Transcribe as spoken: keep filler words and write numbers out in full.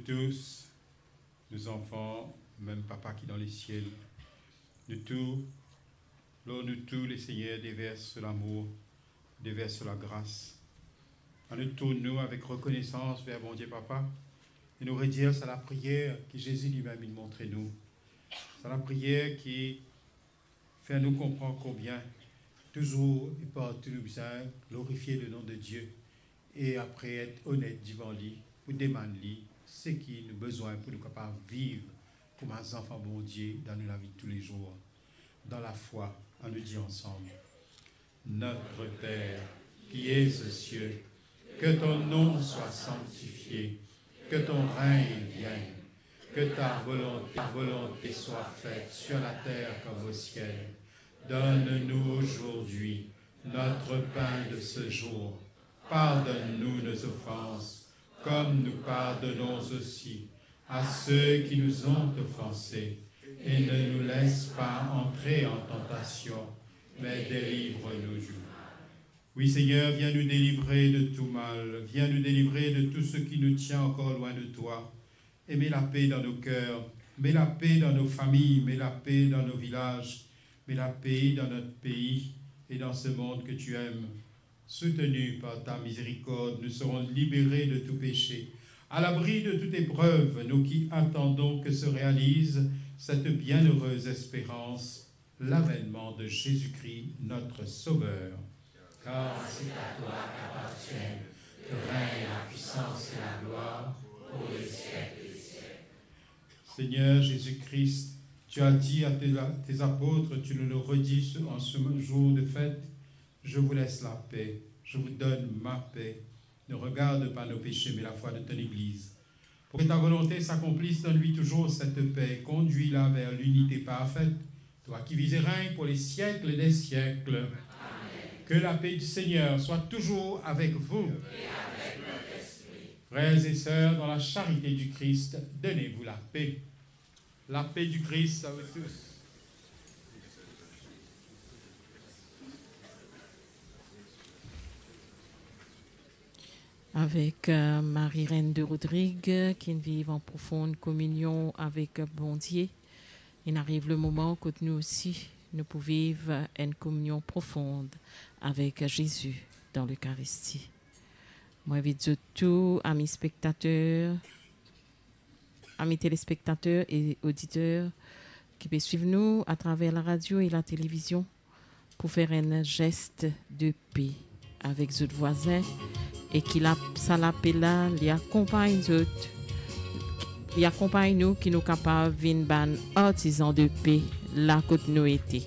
Tous, nos enfants, même Papa qui est dans les ciels, nous tous, lor nou tou, le Seigneur déverse son amour, déverse sa gras. Annou tourn nou avek rekonesans ver Bondie Papa e nou redir sa lapriyer ki Zezi limem inn montre nou. Sa lapriyer ki fer nou konpran konbien touzour e partou nou bizin glorifie le nom de Dieu e apre et onet divan li pou demann li seki nou bizin pou nou kapav viv kouma zanfan Bondie dan nou lavi toulezour. Dan lafwa, annou dir ansam: Notre Père, qui es aux cieux, que ton nom soit sanctifié, que ton règne vienne, que ta volonté, ta volonté soit faite sur la terre comme au ciel. Donne-nous aujourd'hui notre pain de ce jour. Pardonne-nous nos offenses, comme nous pardonnons aussi à ceux qui nous ont offensés, et ne nous laisse pas entrer en tentation, mais délivre-nous du mal. Oui, Seigneur, viens nous délivrer de tout mal, viens nous délivrer de tout ce qui nous tient encore loin de toi, et mets la paix dans nos cœurs, mets la paix dans nos familles, mets la paix dans nos villages, mets la paix dans notre pays et dans ce monde que tu aimes. Soutenus par ta miséricorde, nous serons libérés de tout péché, à l'abri de toute épreuve, nous qui attendons que se réalise cette bienheureuse espérance, l'avènement de Jésus-Christ, notre Sauveur. Car c'est à toi qu'appartiennent le règne, la puissance et la gloire pour les siècles des siècles. Seigneur Jésus-Christ, tu as dit à tes, tes apôtres, tu nous le redis ce, en ce jour de fête: Je vous laisse la paix, je vous donne ma paix. Ne regarde pas nos péchés, mais la foi de ton Église. Pour que ta volonté s'accomplisse, donne-lui toujours cette paix, conduis-la vers l'unité parfaite, toi qui vis et règnes pour les siècles des siècles. Amen. Que la paix du Seigneur soit toujours avec vous. Et avec votre esprit. Frères et sœurs, dans la charité du Christ, donnez-vous la paix. La paix du Christ à vous tous. Avek, euh, Marie Reine de Rodrigue, ki viv an profond kominion avek Bondie, inn ariv le moman kot nou osi, nou pou viv enn kominion profond avek Zezi dan Lekaristi. Mo invit zot tou, ami spektater, ami telespektater e oditer ki pe swiv nou atraver laradio e latelevizion, pou fer enn zes de pe avek zot vwazin e ki la, sa lape la, li akonpagn zot, li akonpagn nou, ki nou kapav vinn bann artizan de pe la kot nou ete.